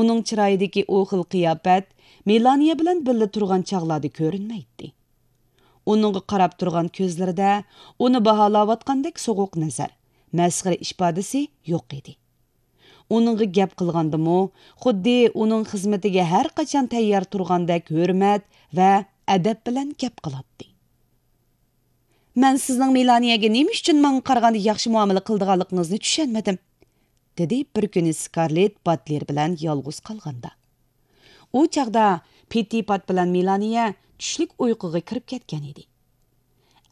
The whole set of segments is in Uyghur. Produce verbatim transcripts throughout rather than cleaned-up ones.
ئۇنىڭ چىرايىدىكى ئۇ خىل قىياپەت مېلانىيە بىلەن بىللە تۇرغان چاغلاردا كۆرۈنمەيتتى. ئۇنىڭغا قاراپ تۇرغان كۆزلىرىدە ئۇنى باھالاۋاتقاندەك سوغۇق نەزەر، مەسخىرە ئىپادىسى يوق ئىدى. ئۇنىڭغا گەپ قىلغاندىمۇ، خۇددى ئۇنىڭ خىزمىتىگە ھەر قاچان تەييار تۇرغاندەك ھۆرمەت ۋە ئەدەپ بىلەن گەپ قىلاتتى. مەن سىزنىڭ مېلانىيەگە نېمە ئۈچۈن ماڭا قارىغاندا ياخشى مۇئامىلە قىلىدىغانلىقىڭىزنى چۈشەنمىدىم، دېدى بىر كۈنى سكارلېت باتلېر بىلەن يالغۇز قالغاندا. ئۇ چاغدا پىتتىپات بىلەن مېلانىيە چۈشلۈك ئۇيقۇغا كىرىپ كەتكەن ئىدى.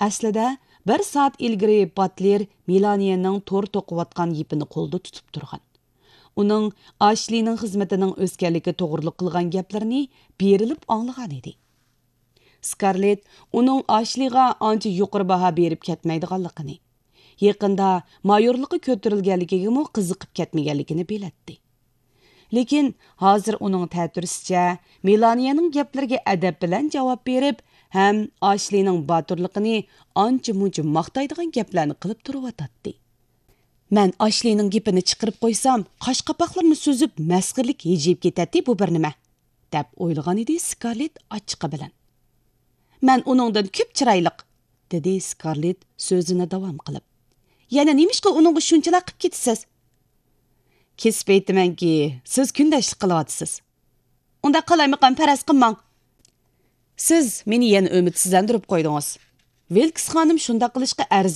ئەسلىدە، بىر سائەت ئىلگىرى باتلېر مېلانىيەنىڭ تور توقۇۋاتقان يىپىنى قولىدا تۇتۇپ تۇرغان. ئۇنىڭ ئاشلىنىڭ خىزمىتىنىڭ ئۆسكەنلىكى توغرۇلۇق قىلغان گەپلىرىنى بېرىلىپ ئاڭلىغان ئىدى. سكارلېت ئۇنىڭ ئاشلىغا ئانچە يۇقىرى باھا بېرىپ كەتمەيدىغانلىقىنى، يېقىندا مايورلۇققا كۆتۈرۈلگەنلىكىگىمۇ قىزىقىپ كەتمىگەنلىكىنى بىلەتتى. لېكىن ھازىر ئۇنىڭ تەتۈرىسىچە، مېلانىيەنىڭ گەپلىرىگە ئەدەپ بىلەن جاۋاب بېرىپ ھەم ئاشلىنىڭ باتۇرلۇقىنى ئانچە-مۇنچە ماختايدىغان گەپلەرنى قىلىپ تۇرۇۋاتاتتى. مەن ئاشلىنىڭ گېپىنى چىقىرىپ قويسام، قاش-قاپاقلىرىنى سۈزۈپ، مەسخىرىلىك ھىجىيىپ كېتەتتى بۇ بىر نېمە، دەپ ئويلىغان ئىدى سكارلېت ئاچچىقى بىلەن. مەن ئۇنىڭدىن كۆپ چىرايلىق، دېدى سكارلېت سۆزىنى داۋام قىلىپ. يەنە نېمىشقا ئۇنىڭغا شۇنچىلا قىپ كېتىسىز؟ كېسىپ ئېيتىمەنكى، سىز كۈندەشلىك قىلىۋاتىسىز. ئۇنداق قالايمىقان پەرەز قىلماڭ. سىز مېنى يەنە ئۈمىدسىزلەندۈرۈپ قويدىڭىز. ۋىلكس خانىم شۇنداق قىلىشقا ئەرزىيدۇ.